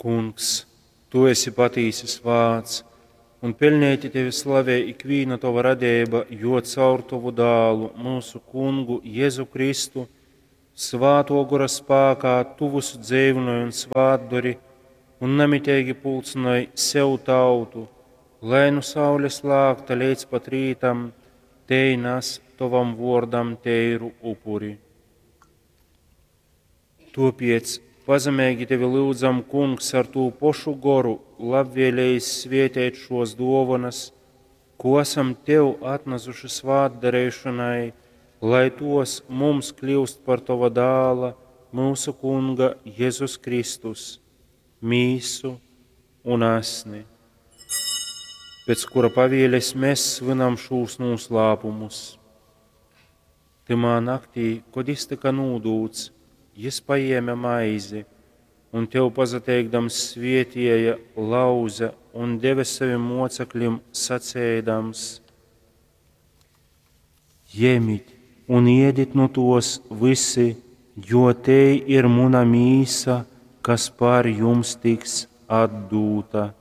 Kungs, tu esi patīsi svāts, un peļneiti tevi slavej ikvīna tova radeiba, jo caur tovu dālu, myusu Kungu Jezu Kristu, svātō gora spākā tu vysu dzeivynoj un svātdori, un namiteigi pulcynoj sev tautu, lai nu saules lākta leidz pat rītam tei nas tovam vōrdam teiru upuri. Tōpēc pazemeigi tevi lyudzam, Kungs, ar tū pošu goru labvēlējis svēteit šōs dōvonas, ko asam tev atnasuši svātdareišonai, lai tos mums kļyust par tova dāla, myusu Kunga Jezus Kristus, mīsu un asni, pēc kura pavēles mēs svinam šūs noslēpumus. Tymā naktī, kod jis tyka nūdūts, jis pajēme maizi un tev pasateikdams svietieja, lauze un deve savim moceklim, saceidams: Jemit un iedit nu tos visi, jo tei ir muna mīsa, kas par jums tiks atdūta.